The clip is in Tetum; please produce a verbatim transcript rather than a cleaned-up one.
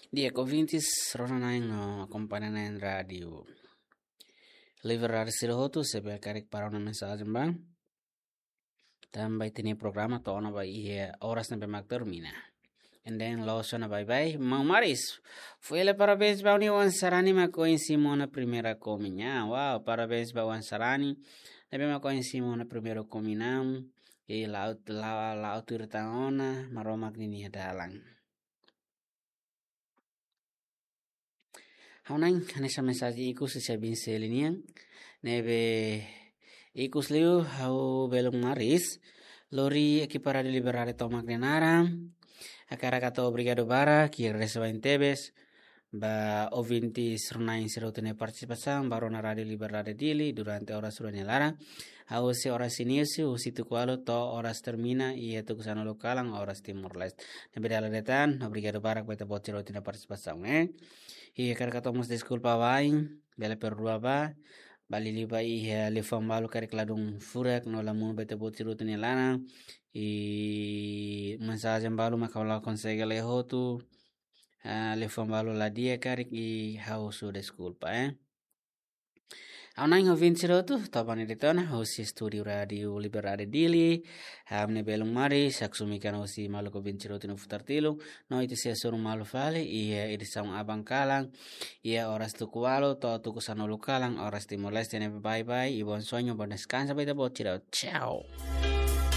Di'ak, ouvintes rona-na'in no akompaña-na'in Rádiu Liberdade sira hotu, se bele karik para ona mensajen ba. Tanba ita-nia programa to'o ona ba iha oras ne'ebé mak termina. And then loos ona baibain. Maun Maris, fó hela parabéns ba ó-nia oan sarani mak ohin simu ona primeira komuñaun. Wow, parabéns ba oan sarani ne'ebé mak ohin simu ona primeira komuñaun. I la'o, la'o, la'o tuir tan ona, Maromak ninia dalan. Ha'u-na'in, hanesan mensajen ikus husi Binseli nian, ne'ebé ikus liu ha'u belun Maris, lori ekipa Rádiu Liberdade tomak nia naran, hakarak hato'o obrigadu barak, i agradese barak tebes ba ouvintes rona-na'in sira hotu nia partisipasaun ba rona Rádiu Liberdade Dili durante oras rua nia laran, hahú husi oras inísiu, husi tuku ualu to'o oras termina, iha tuku sanulu kalan, oras Timor-Leste. Ne'ebé dala ida tan, obrigadu barak ba ita-boot sira hotu nia partisipasaun, eh. I hakarak hato'o mós deskulpa wa'in, bele perdua ba, ba liuliu ba iha liafuan balu karik ladún furak no la monu ba ita-boot sira hotu nia laran. I mensajen balu mak ha'u la konsege lee hotu, ah, liafuan balu la di'ak karik, i ha'u husu deskulpa, eh. Ha'u-na'in, ouvintes sira hotu, to'o ba ne'e de'it ona, husi estúdiu Rádiu Liberdade Dili, ha'u-nia belun Maris, haksolok mai husi maluk ouvintes sira hotu nia futar tilun, no ita sei hasoru malu fali iha edisaun aban kalan, iha oras tuku ualu to'o tuku sanulu kalan, oras Timor-Leste, ne'ebé baibain, i bom sonho, bom descanso ba ita-boot sira. Tchau.